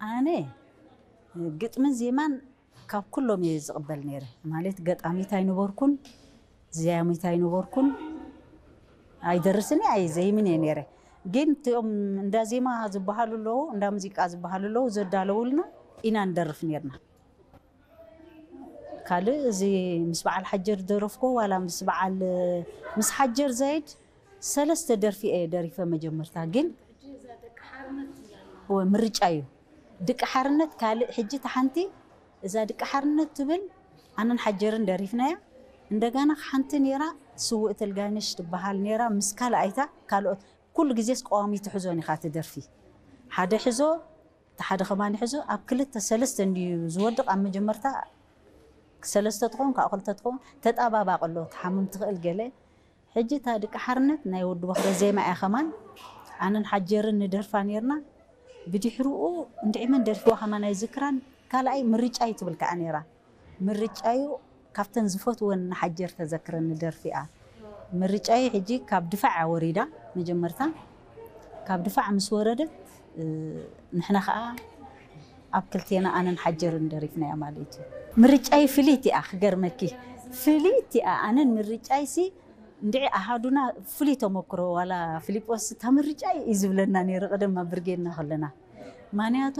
ኣነ ግጥምን ዜማን ካብ ኩሎም እየ ዝቕበል ነይረ። ማለት ገጣሚት ኣይነበርኩን፣ ዘያሚት ኣይነበርኩን፣ ኣይደርስን እየ ኣይዘይምን እየ ነይረ። ግን እቲኦም እንዳ ዜማ ዝበሃሉ ኣለዉ፣ እንዳ ሙዚቃ ዝበሃሉ ኣለዉ፣ ዘዳለውልና ኢና ንደርፍ ነይርና። ካልእ እዚ ምስ በዓል ሓጀር ደረፍኮ ዋላ ምስ በዓል ምስ ሓጀር ዛይድ ሰለስተ ደርፊ እየ ደሪፈ መጀመርታ። ግን ምርጫ እዩ። ድቂ ሓርነት ካልእ። ሕጂ ተሓንቲ እዛ ድቂ ሓርነት ትብል ኣነን ሓጀርን ደሪፍናያ። እንደገና ሓንቲ ነይራ ስውእ ተልጋነሽ ትበሃል ነይራ፣ ምስ ካልኣይታ ካልኦት። ኩሉ ግዜስ ቀዋሚ ትሕዞን ኢኻ ትደርፊ። ሓደ ሕዞ፣ እቲ ሓደ ከማን ሕዞ፣ ኣብ ክልተ ሰለስተ እንድዩ ዝወድቕ። ኣብ መጀመርታ ሰለስተ ትኸውን፣ ካብኡ ክልተ ትኸውን፣ ተጣባባቕ ኣሎ፣ ትሓምም ትኽእል ገለ። ሕጂ እታ ድቂ ሓርነት ናይ ወዲ ቦኽረ ዜማ እያ ከማን። ኣነን ሓጀርን ንደርፋ ነይርና። ብድሕርኡ እንድዒ መን ደርፊዋ ከማን ኣይዝክራን። ካልኣይ ምርጫይ ትብል ከኣ ነይራ። ምርጫዩ ካብተን ዝፈትወን ንሓጀር ተዘክረኒ ደርፊ እያ። ምርጫዩ ሕጂ ካብ ድፋዕ እያ ወሪዳ መጀመርታ። ካብ ድፋዕ ምስ ወረደት፣ እ፣ ንሕና ከኣ ኣብ ክልቴና ኣነን ሓጀርን ደሪፍናያ ማለት እዩ። ምርጫይ ፍልይቲ እያ ክገርመኪ። ፍልይቲ እያ። ኣነን ምርጫይሲ እንድዒ ኣሃዱና ፍሉይ ተመክሮ፣ ዋላ ፊሊጶስ እታ ምርጫይ እዩ ዝብለና ነይሩ ቀደም ኣብ ብርጌድና ከለና። ማንያቱ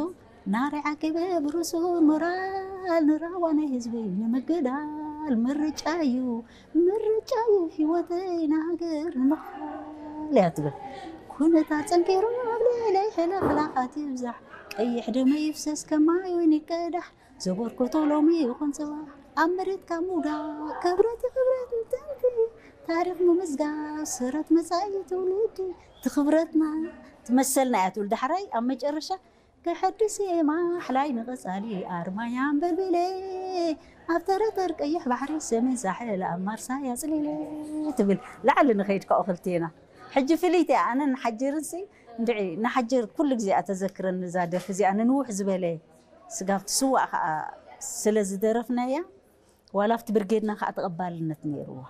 ናሪ ዓቂበ ብሩሱ ሞራል ንራዋ ናይ ህዝበይ ንምግዳል ምርጫዩ፣ ምርጫዩ ህይወተይ ንሃገር ንምኽፋል እያ ትብል። ኩነታት ጸንኪሩ ኣብ ልዕለይ ሕልኽላኻት ይብዛሕ፣ ቀይሕ ደመይ ይፍሰስ ከማይ ወይኒ ይቀዳሕ፣ ዘበርክቶ ሎሚ ይኹን ጽባሕ ኣብ መሬት ካብ ምውዳቕ ክብረት ክብረት ንጥንቲ ታሪኽ ምምዝጋብ ስረት መጻኢ ትውልዲ ትኽብረትና ትመሰልና እያ ትብል። ዳሕራይ ኣብ መጨረሻ ከሐድስ እየ ማሕላይ ንቐጻሊ ኣርማይ ኣንበልቢለ ኣብ ተረተር ቀይሕ ባሕሪ ሰሜን ሳሕል ኣብ ማርሳይ ኣጽሊለ ትብል። ላዕሊ ንኸይድ ካብኡ ክልቴና። ሕጂ ፍልይቲ እያ። ኣነ ንሓጀርንሲ እንድዒ ንሓጀር ኩሉ ግዜ እያ ተዘክረኒ እዛ ደርፊ እዚኣ። ንንውሕ ዝበለ ስጋብ ትስዋእ ከኣ ስለ ዝደረፍናያ፣ ዋላ ኣብቲ ብርጌድና ከኣ ተቐባልነት ነይርዋ።